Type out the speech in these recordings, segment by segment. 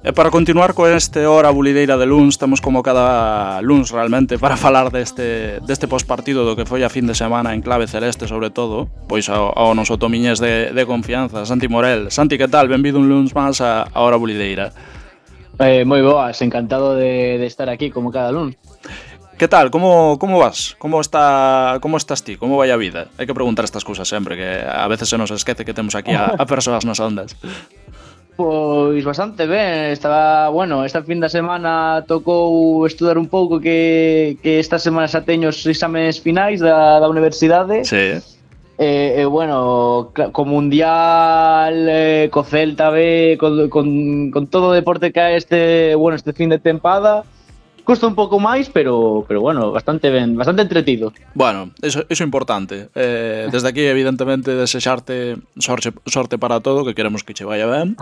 E para continuar con este hora bulideira de luns, temos como cada luns realmente para falar deste postpartido do que foi a fin de semana en clave celeste, sobre todo, pois ao noso tomiñés de confianza, Santi Morel. Santi, que tal? Benvido un luns máis a hora bulideira. Moi boas, encantado de estar aquí como cada luns. Que tal? Como vas? Como estás ti? Como vai a vida? Hai que preguntar estas cousas sempre, que a veces se nos esquece que temos aquí a persoas nas ondas. Pois bastante ben, estaba, bueno, esta fin de semana tocou estudar un pouco que esta semana xa teño os exames finais da universidade. Sí. Bueno, co Mundial, co Celta B, con todo o deporte que hai este fin de tempada, custa un pouco máis, pero bueno, bastante ben, bastante entretido. Bueno, eso é importante. Desde aquí, evidentemente, desexarte sorte para todo, que queremos que che vaya ben.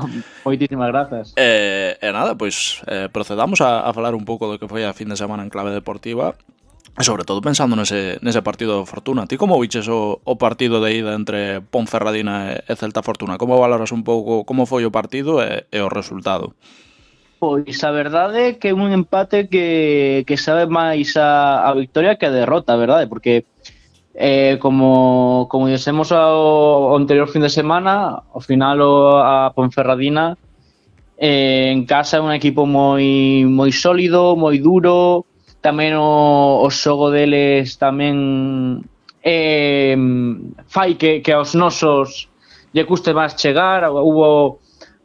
Moitísimas grazas. E nada, pois procedamos a falar un pouco do que foi a fin de semana en clave deportiva. E sobre todo pensando nese partido de Fortuna. Ti como viches o partido de ida entre Ponferradina e Celta Fortuna? Como valoras un pouco como foi o partido e o resultado? Pois a verdade é que é un empate que sabe máis a victoria que a derrota, a verdade, porque como dixemos ao anterior fin de semana, ao final a Ponferradina en casa é un equipo moi sólido, moi duro, tamén o xogo deles tamén fai que aos nosos lle custe máis chegar. Hubo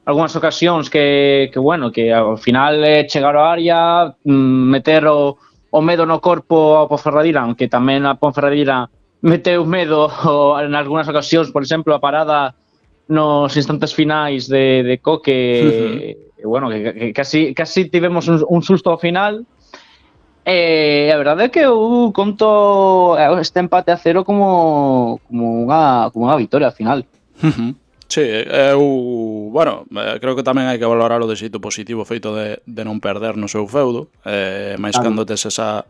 algunhas ocasións que ao final chegar ao área, meter o medo no corpo ao Ponferradina, aunque tamén a Ponferradina meteu medo en algunhas ocasións, por exemplo, a parada nos instantes finais de Coque, que casi tivemos un susto ao final. A verdade é que eu conto este empate a 0 como unha victoria ao final. Sí, creo que tamén hai que valorar o de xeito positivo feito de non perder no seu feudo, máis cando tes esa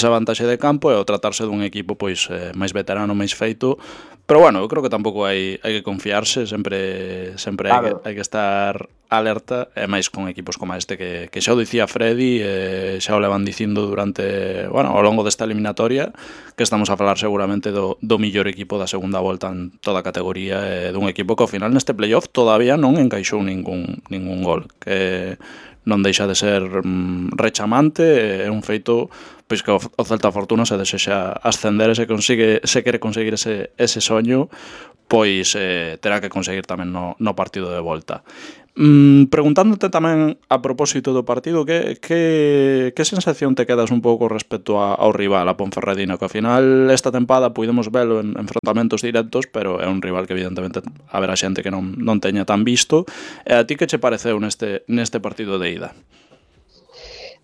vantaxe de campo e o tratarse dun equipo pois máis veterano, máis feito. Pero bueno, eu creo que tampouco hai que confiarse, sempre claro. hai que estar alerta, e máis con equipos como este que xa o dicía Freddy, xa o levan dicindo durante, ao longo desta eliminatoria, que estamos a falar seguramente do millor equipo da segunda volta en toda a categoría, dun equipo que ao final neste playoff todavía non encaixou ningún gol, que non deixa de ser rechamante. É un feito pois que o Celta Fortuna se desexa ascender e se quere conseguir ese soño, pois terá que conseguir tamén no partido de volta. Preguntándote tamén a propósito do partido, que sensación te quedas un pouco respecto ao rival, a Ponferradina, que ao final esta tempada pudemos velo en enfrontamentos directos, pero é un rival que evidentemente haberá xente que non teña tan visto. E a ti que che pareceu neste partido de ida?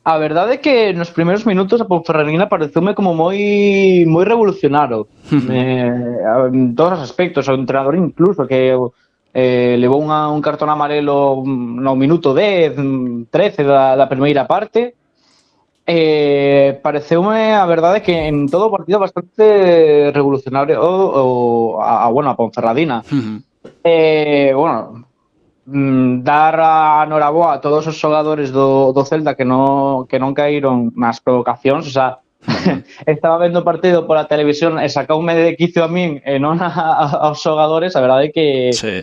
A verdade é que nos primeiros minutos a Ponferradina pareceume como moi revolucionario en todos os aspectos, o entrenador incluso que levou un cartón amarelo no minuto 10, 13 da primeira parte. Pareceume a verdade que en todo o partido bastante revolucionario a Ponferradina. Dar a noraboa a todos os xogadores do Celta que non caíron nas provocacións, o sea, estaba vendo o partido pola televisión e sacoume de quicio a min e non aos xogadores. A verdade é que sí.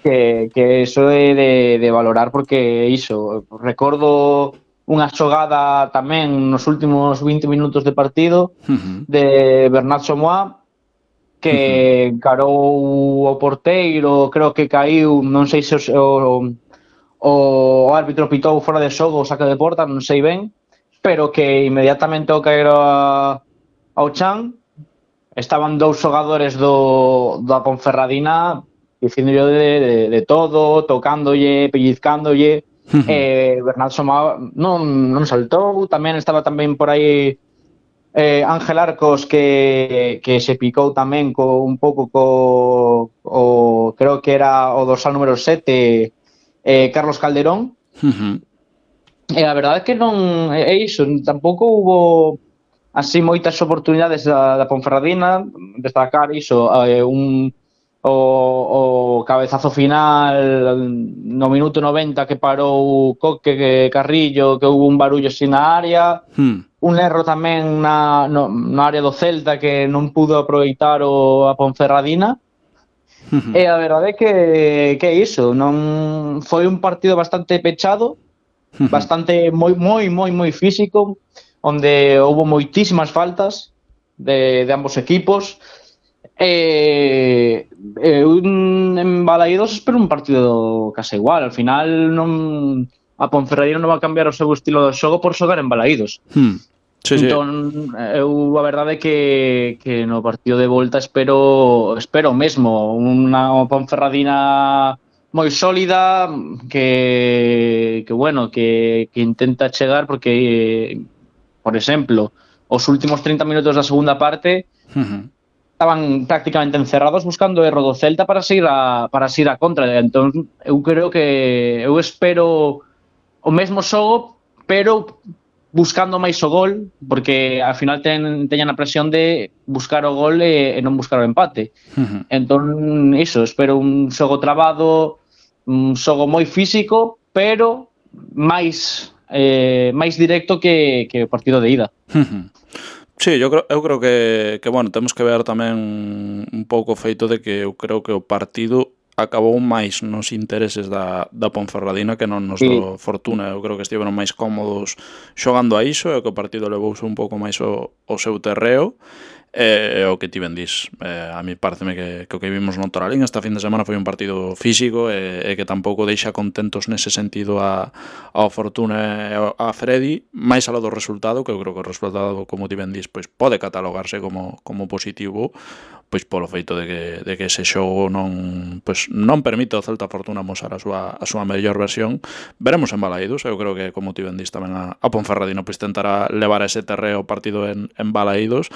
que iso é de valorar, porque iso, recordo unha xogada tamén nos últimos 20 minutos de partido de Bernat Somoa, que encarou o porteiro, creo que caíu, non sei se o árbitro pitou fora de xogo o saque de porta, non sei ben, pero que inmediatamente ao caer ao chan estaban dous xogadores da Ponferradina dicindo de todo, tocándolle, pellizcándolle. Bernat Somoa non saltou. Tamén estaba por aí Ángel Arcos, que se picou tamén un pouco creo que era o dorsal número 7, Carlos Calderón. E a verdade é que non é iso, tampouco hubo así moitas oportunidades da Ponferradina. Destacar iso, un o cabezazo final no minuto 90 que parou Coque, que Carrillo, que houve un barullo así na área, un erro tamén na área do Celta que non pudo aproveitar a Ponferradina. E a verdade é que é iso, non foi un partido bastante pechado, bastante moi físico, onde houve moitísimas faltas de ambos equipos. En Balaídos espero un partido case igual. Al final a Ponferradina non va a cambiar o seu estilo de xogo por xogar en Balaídos. Sí, entón, eu a verdade é que no partido de volta espero mesmo unha Ponferradina moi sólida que bueno, que intenta chegar, porque por exemplo, os últimos 30 minutos da segunda parte estaban prácticamente encerrados buscando o erro do Celta para seguir a contra. Entón, eu creo que eu espero o mesmo xogo, pero buscando máis o gol, porque ao final teñan a presión de buscar o gol e non buscar o empate. Entón, iso, espero un xogo trabado, un xogo moi físico, pero máis directo que o partido de ida. Sí, eu creo que bueno, temos que ver tamén un pouco o feito de que eu creo que o partido acabou máis nos intereses da Ponferradina que non nos do Fortuna. Eu creo que estiveron máis cómodos xogando a iso, e que o partido levouse un pouco máis o seu terreo. O que ti ben dis, a mí pareceme que o que vimos no Toralín esta fin de semana foi un partido físico e que tampouco deixa contentos nese sentido ao Fortuna e a Freddy, máis aló do resultado, que eu creo que o resultado, como ti ben dis, pois pode catalogarse como positivo, pois polo feito de que ese xogo non permite ao Celta Fortuna mostrar a súa mellor versión. Veremos en Balaídos, eu creo que, como ti ben dis, tamén a Ponferradina pois tentará levar ese terreo o partido en Balaídos.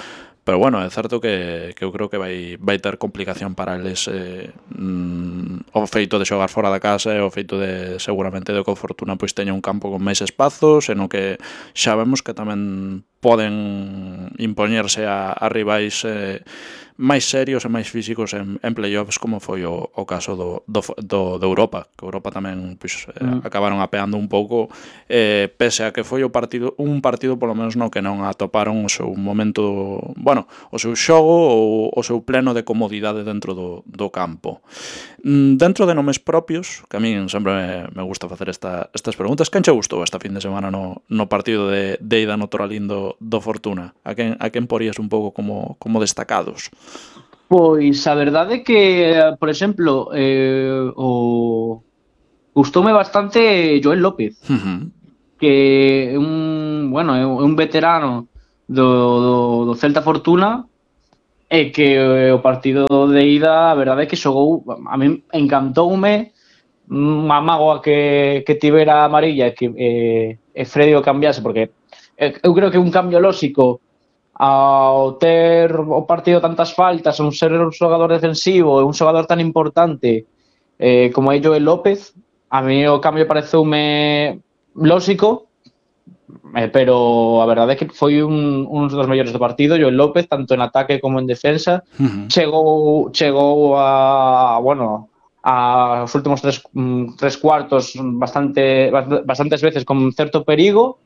Pero bueno, é certo que eu creo que vai ter complicación para eles o feito de xogar fora da casa e o feito de seguramente de que o Fortuna pois teña un campo con máis espazos, e no que xa vemos que tamén poden impoñerse a rivais máis serios e máis físicos en playoffs, como foi o caso do Europa, que Europa tamén pois, acabaron apeando un pouco, pese a que foi un partido polo menos no que non atoparon o seu momento, bueno, o seu xogo ou o seu pleno de comodidade dentro do campo. Dentro de nomes propios, que a min sempre me gusta facer estas preguntas, quen che gustou esta fin de semana no partido de ida no Toralín do Fortuna? A quen porías un pouco como destacados? Pois a verdade é que, por exemplo, gustoume bastante Joel López, que é un veterano do Celta Fortuna, e que o partido de ida, a verdade é que xogou, a min encantoume, unha mágoa que tivera a amarilla e Freddy o cambiase, porque eu creo que un cambio lóxico ao ter o partido tantas faltas, un ser un xogador defensivo e un xogador tan importante como é Joel López, a mí o cambio pareceume lóxico, pero a verdade é que foi un dos mellores do partido. Joel López, tanto en ataque como en defensa, chegou aos últimos tres cuartos bastantes veces con certo perigo,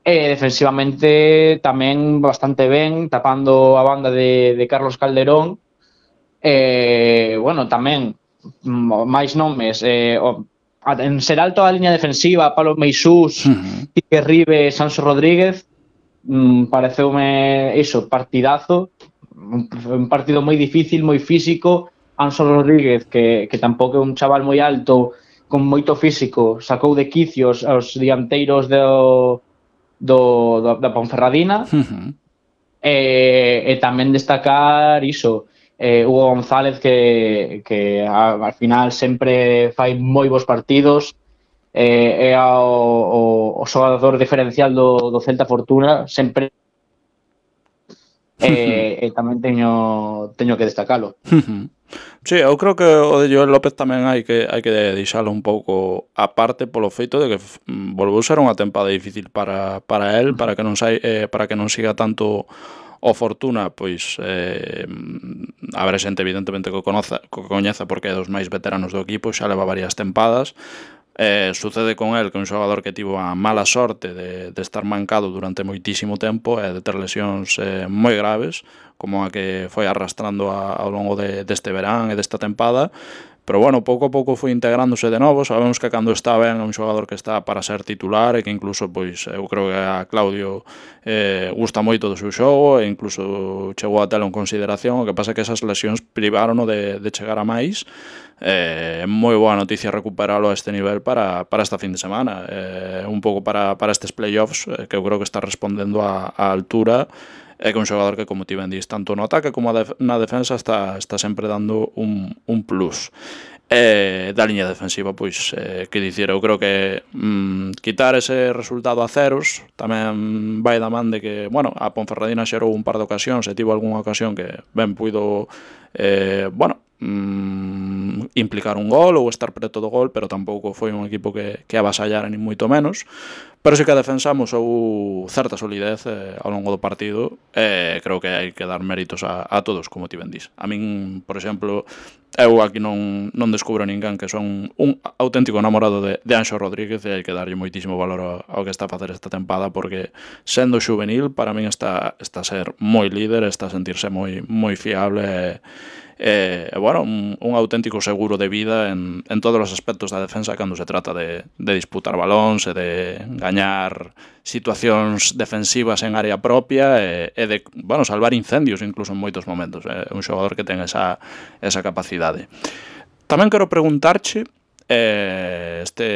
e defensivamente tamén bastante ben, tapando a banda de Carlos Calderón. Tamén máis nomes, en ser alto a liña defensiva, Pablo Meisús, Quique Ribe, Sanso Rodríguez, pareceume iso, partidazo, un partido moi difícil, moi físico. Anso Rodríguez, que tampouco é un chaval moi alto, con moito físico, sacou de quicios aos dianteiros da Ponferradina. E tamén destacar iso, Hugo González, que al final sempre fai moi bons partidos, é o xogador diferencial do Celta Fortuna sempre, e tamén teño que destacalo. Sí, eu creo que o de Joel López tamén hai que deixalo un pouco aparte polo feito de que volveu ser unha tempada difícil para el, para que non siga tanto O Fortuna, pois haberá xente evidentemente que o coñeza porque é dos máis veteranos do equipo, xa leva varias tempadas. Sucede con el que un xogador que tivo a mala sorte de estar mancado durante moitísimo tempo e de ter lesións moi graves, como a que foi arrastrando ao longo deste verán e desta tempada. Pero bueno, pouco a pouco foi integrándose de novo. Sabemos que cando está ben é un xogador que está para ser titular e que incluso, pois, eu creo que a Claudio gusta moito do seu xogo e incluso chegou a telo en consideración. O que pasa é que esas lesións privárono de chegar a máis. Moi boa noticia recuperalo a este nivel para esta fin de semana, un pouco para estes playoffs, que eu creo que está respondendo á altura. É que un xogador que, como ti ben dis, tanto no ataque como na defensa está sempre dando un plus. Da liña defensiva, pois, que dicir, eu creo que quitar ese resultado a ceros tamén vai da man de que, bueno, a Ponferradina xerou un par de ocasións e tivo algunha ocasión que ben puido, implicar un gol ou estar preto do gol, pero tampouco foi un equipo que avasallara nin moito menos. Pero sí que a defensa amosou certa solidez ao longo do partido, e creo que hai que dar méritos a todos, como ti ben dis. A min, por exemplo, eu aquí non descubro ninguén que son un auténtico namorado de Anxo Rodríguez, e hai que darlle moitísimo valor ao que está a facer esta tempada, porque sendo xuvenil, para min está a ser moi líder, está a sentirse moi fiable bueno, un auténtico seguro de vida en todos os aspectos da defensa cando se trata de disputar balóns e de gañar situacións defensivas en área propia e de, bueno, salvar incendios incluso en moitos momentos. É un xogador que ten esa capacidade. Tamén quero preguntarche, este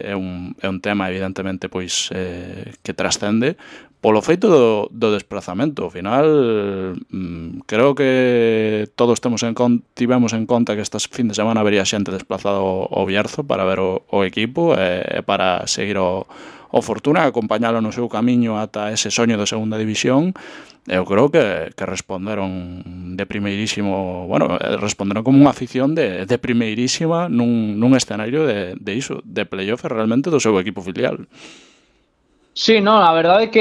é un tema evidentemente pois que trascende polo feito do desplazamento. Ao final, creo que todos tivemos en conta que estas fin de semana habería xente desplazado ao Bierzo para ver o equipo e para seguir o Fortuna, acompañalo no seu camiño ata ese soño de segunda división. Eu creo que responderon de primeirísimo, bueno, responderon como unha afición de primeirísima nun escenario de iso, de playoff realmente do seu equipo filial. Sí, no, a verdade é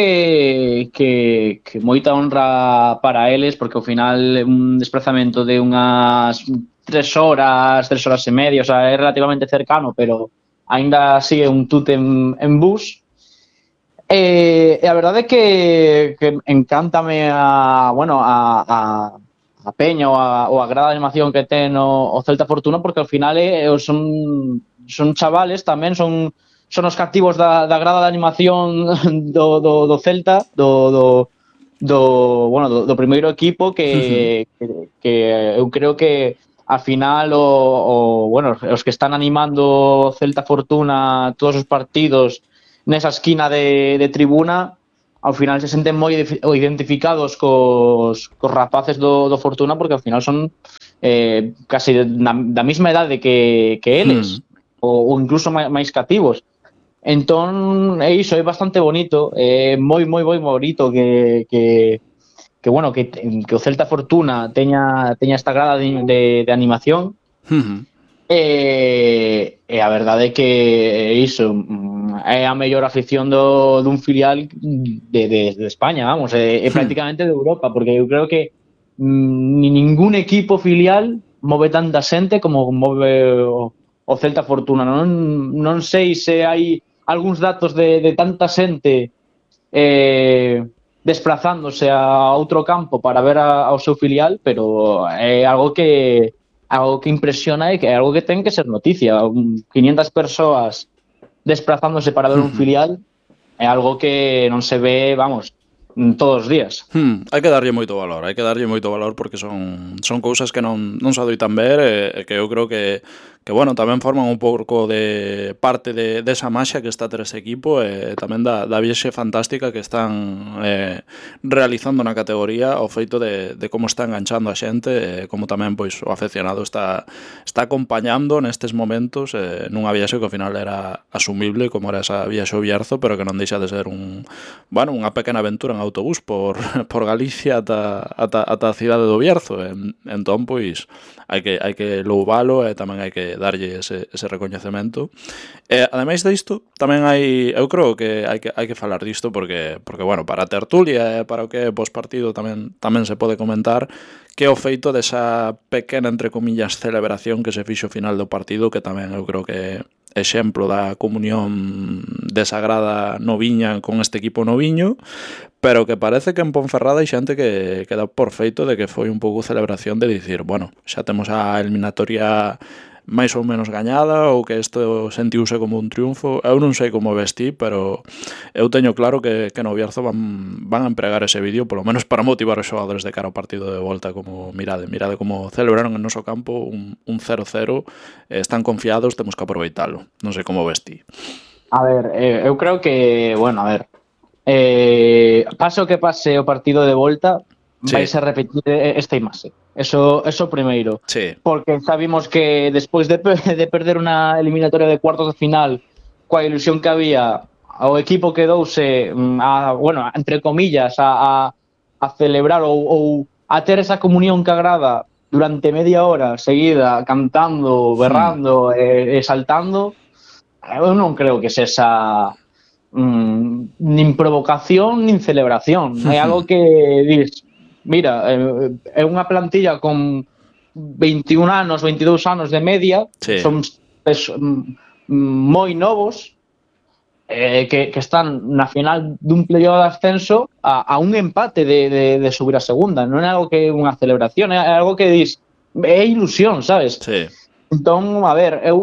que moita honra para eles, porque ao final un desplazamento de unhas 3 horas e media, o sea, é relativamente cercano, pero aínda sigue un tute en bus. E a verdade é que encántame a peña ou a grada de animación que ten o Celta Fortuna, porque ao final son chavales tamén, son os cativos da grada de animación do Celta, do primeiro equipo que eu creo que ao final os que están animando Celta Fortuna todos os partidos nesa esquina de tribuna, ao final se senten moi identificados cos rapaces do Fortuna, porque ao final son casi da mesma idade que eles, ou incluso máis cativos. Entón, é iso, é bastante bonito, moi bonito que o Celta Fortuna teña esta grada de animación. E a verdade é que iso é a mellor afición dun filial de España, vamos, é prácticamente de Europa, porque eu creo que ningún equipo filial move tanta xente como move o Celta Fortuna. Non sei se hai algúns datos de tanta xente desplazándose a outro campo para ver ao seu filial, pero é algo que impresiona e que é algo que ten que ser noticia. 500 persoas desplazándose para ver un filial é algo que non se ve, vamos, todos os días. Hai que darlle moito valor, porque son cousas que non se adoitan ver e que eu creo que bueno, tamén forman un pouco de parte desa maxia que está a ter ese equipo e tamén da viaxe fantástica que están realizando na categoría, o feito de como está enganchando a xente e como tamén pois o afeccionado está acompañando nestes momentos nunha viaxe que ao final era asumible como era esa viaxe ao Bierzo, pero que non deixa de ser unha pequena aventura en autobús por Galicia ata a cidade do Bierzo. Entón, pois, hai que louvalo e tamén hai que darlle ese recoñecemento. Ademais disto, tamén eu creo que hai que falar disto porque bueno, para a tertulia e para o que é pospartido tamén se pode comentar que é o feito desa pequena, entre comillas, celebración que se fixo ao final do partido, que tamén eu creo que exemplo da comunión desagrada noviña con este equipo noviño, pero que parece que en Ponferrada hai xente que dá por feito de que foi un pouco celebración de dicir, bueno, xa temos a eliminatoria máis ou menos gañada ou que isto sentiuse como un triunfo. Eu non sei como vestí, pero eu teño claro que no Bierzo van a empregar ese vídeo polo menos para motivar os xogadores de cara ao partido de volta, como mirade como celebraron en noso campo un 0-0, están confiados, temos que aproveitalo. Non sei como vestí. A ver, eu creo que, bueno, a ver, pase o que pase o partido de volta, vais a repetir esta imaxe. Eso primeiro. Sí. Porque sabimos que despois de perder unha eliminatoria de cuartos de final coa ilusión que había, o equipo quedouse bueno, entre comillas a celebrar ou a ter esa comunión que agrada durante media hora seguida, cantando, berrando e saltando. Eu non creo que sexa nin provocación nin celebración. É algo que dis, mira, é unha plantilla con 21 anos, 22 anos de media, son moi novos, que están na final dun playoff de ascenso a un empate de subir a segunda. Non é algo que é unha celebración, é algo que dis, é ilusión, sabes? Sí. Entón, a ver, eu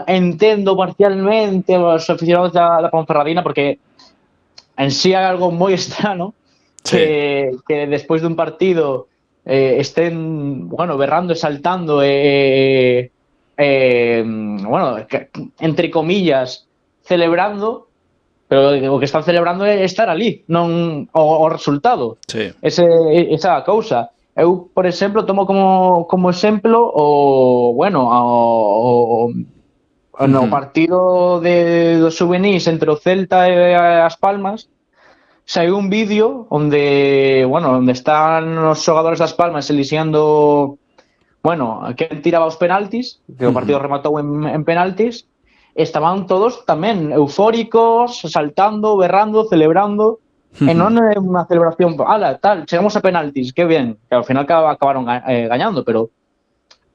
entendo parcialmente os aficionados da Ponferradina porque en sí hai algo moi estrano que despois dun partido estén, bueno, berrando e saltando bueno, entre comillas celebrando, pero o que están celebrando é estar ali, non o resultado. Sí. Esa cousa. Eu, por exemplo, tomo como exemplo no partido dos juvenis entre o Celta e as Palmas, saiu un vídeo onde están os xogadores das Palmas elixendo, quen tiraba os penaltis, que o partido rematou en penaltis, estaban todos tamén eufóricos, saltando, berrando, celebrando. E non é unha celebración, chegamos a penaltis, que bien, que ao final acabaron gañando, pero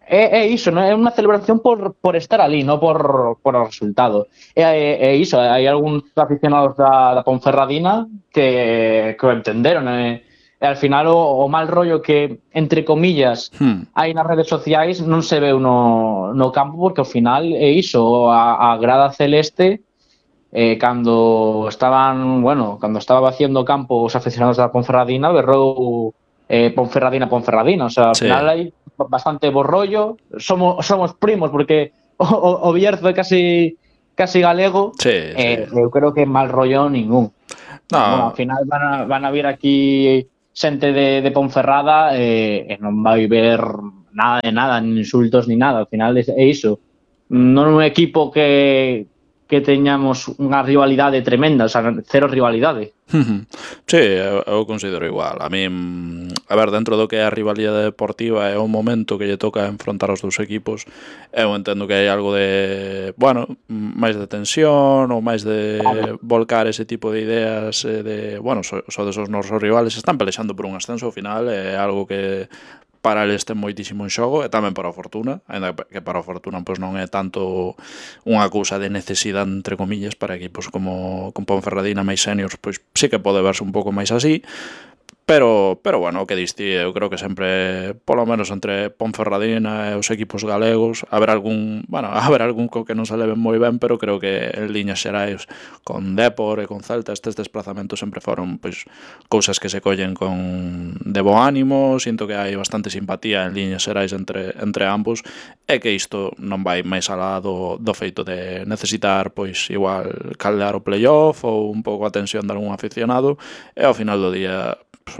é iso, non é unha celebración por estar ali, non por o resultado. É iso, hai algúns aficionados da Ponferradina que o entenderon, e ao final o mal rollo que, entre comillas, hai nas redes sociais non se veu no campo, porque ao final é iso, a grada celeste. Cando estaba vaciando o campo os aficionados da Ponferradina, berrou Ponferradina, o sea, ao final hai bastante borrollo, somos primos porque o Bierzo é casi galego. Eu creo que mal rollo ningún. Ao final van a vir aquí xente de Ponferrada e non vai ver nada de nada, nin insultos ni nada. Ao final é iso, non é un equipo que teñamos unha rivalidade tremenda, o sea, cero rivalidade. Sí, eu considero igual. A mí, a ver, dentro do que é a rivalidade deportiva é o momento que lle toca enfrontar os dous equipos, eu entendo que hai algo de, máis de tensión ou máis de volcar ese tipo de ideas de, sodes os nosos rivales, están pelexando por un ascenso ao final, é algo que para eles ten moitísimo en xogo, e tamén para a Fortuna, ainda que para a Fortuna pois non é tanto unha cousa de necesidade, entre comillas, para equipos como Ponferradina máis seniors, pois sí que pode verse un pouco máis así, pero o que diste, eu creo que sempre, polo menos entre Ponferradina e os equipos galegos, haber algún co que non se leven moi ben, pero creo que en liñas xerais con Dépor e con Celta estes desplazamentos sempre foron pois cousas que se collen de bo ánimo. Sinto que hai bastante simpatía en liñas xerais entre ambos, e que isto non vai máis alá do feito de necesitar pois igual caldear o playoff ou un pouco a tensión de algún aficionado, e ao final do día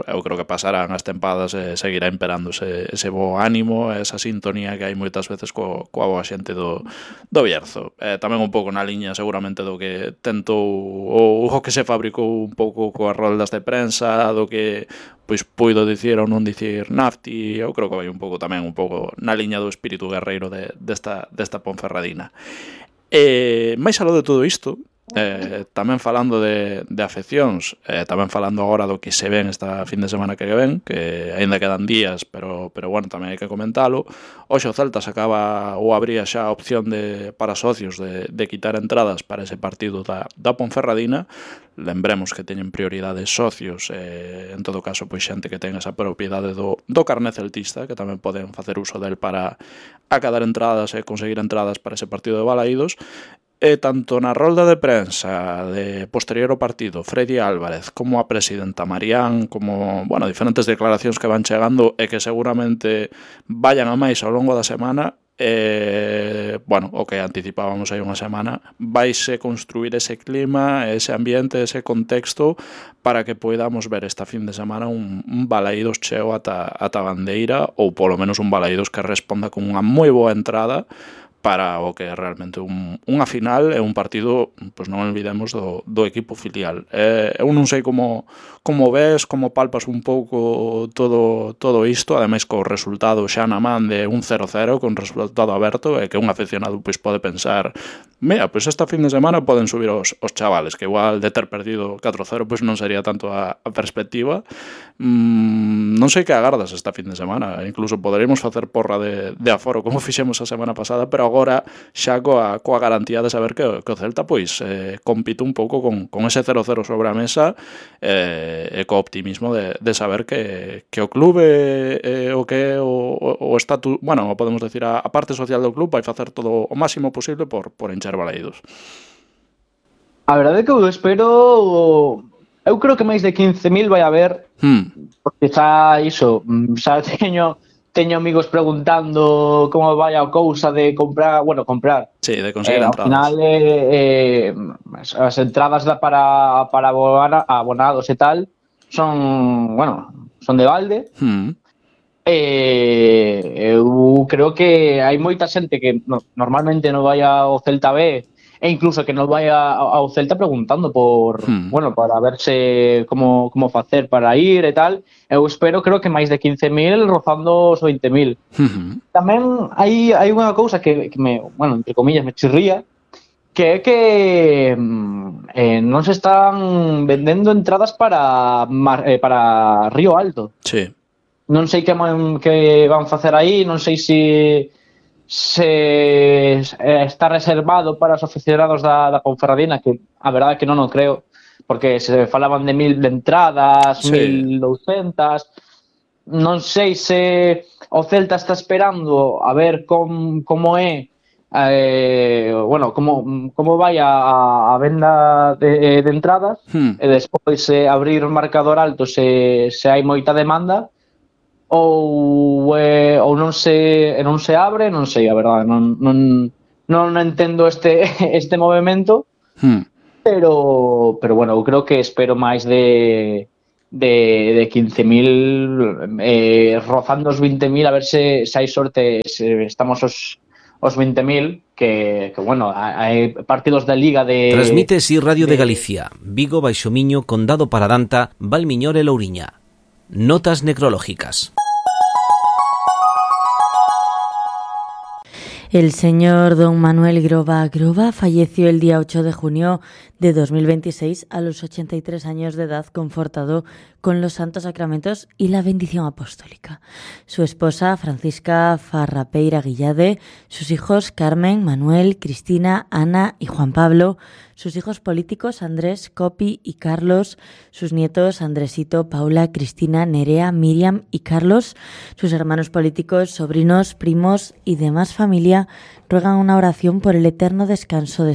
eu creo que pasarán as tempadas e seguirá imperando ese bo ánimo, esa sintonía que hai moitas veces coa boa xente do Bierzo. Tamén un pouco na liña seguramente do que tentou ou o que se fabricou un pouco coas roldas de prensa, do que pois puido dicir ou non dicir Nafti. Eu creo que vai un pouco tamén un pouco na liña do espírito guerreiro desta Ponferradina. Máis aló de todo isto, tamén falando de afeccións, tamén falando agora do que se ven esta fin de semana que ven, que aínda quedan días, pero bueno, tamén hai que comentalo. Hoxe o Celta sacaba ou abría xa a opción para socios de quitar entradas para ese partido da Ponferradina. Lembremos que teñen prioridade socios, en todo caso pois xente que ten esa propiedade do carné celtista, que tamén poden facer uso del para acadar entradas e conseguir entradas para ese partido de Balaídos. E tanto na rolda de prensa de posterior ao partido, Freddy Álvarez, como a presidenta Marián, como, bueno, diferentes declaracións que van chegando e que seguramente vayan a máis ao longo da semana, bueno, o que anticipábamos hai unha semana, vaise construir ese clima, ese ambiente, ese contexto para que poidamos ver esta fin de semana un Balaídos cheo ata Bandeira, ou polo menos un Balaídos que responda con unha moi boa entrada para o que é realmente unha final e un partido, pois non olvidemos, do equipo filial. Eu non sei como ves, como palpas un pouco todo isto, ademais co resultado xa na man de un 0-0, con resultado aberto, e que un aficionado pois pode pensar, mira, pois esta fin de semana poden subir os chavales, que igual de ter perdido 4-0 pois non sería tanto a perspectiva. Non sei que agardas esta fin de semana, incluso poderíamos facer porra de aforo como fixemos a semana pasada, pero agora xa coa garantía de saber que o Celta pois compite un pouco con ese 0-0 sobre a mesa, e co optimismo de saber que o clube o que é o estatus, bueno, podemos decir a parte social do club vai facer todo o máximo posible por encher Balaídos. A verdade é que eu espero, eu creo que máis de 15.000 vai haber, porque xa teño amigos preguntando como vai a cousa de comprar. Sí, de conseguir entradas. Ao final, as entradas para abonados e tal son de balde. Eu creo que hai moita xente que normalmente non vai ao Celta B, e incluso que non vai ao Celta preguntando para verse como facer para ir e tal. Eu espero, creo que máis de 15.000, rozando os 20.000. Tamén hai unha cousa que me, entre comillas, me chirría, que é que non se están vendendo entradas para Río Alto. Sí. Non sei que van facer aí, non sei se está reservado para os aficionados da Ponferradina, que a verdade é que non o creo, porque se falaban de 1.000 de entradas, sí. 1.200. Non sei se o Celta está esperando a ver como é, como vai a venda de entradas, e despois abrir o marcador alto se hai moita demanda, ou non se abre, non sei, a verdade, non entendo este movimento, pero bueno, eu creo que espero máis de 15.000, rozando os 20.000, a ver se hai sorte, se estamos os 20.000, que hai partidos da Liga de... Transmite Radio de Galicia, Vigo, Baixo Miño, Condado Paradanta, Valmiñor e Louriña. Notas necrológicas. El señor don Manuel Groba falleció el día 8 de junio de 2026 a los 83 años de edad, confortado con los santos sacramentos y la bendición apostólica. Su esposa, Francisca Farrapeira Guillade, sus hijos Carmen, Manuel, Cristina, Ana y Juan Pablo, sus hijos políticos Andrés, Copi y Carlos, sus nietos Andresito, Paula, Cristina, Nerea, Miriam y Carlos, sus hermanos políticos, sobrinos, primos y demás familia ruegan una oración por el eterno descanso de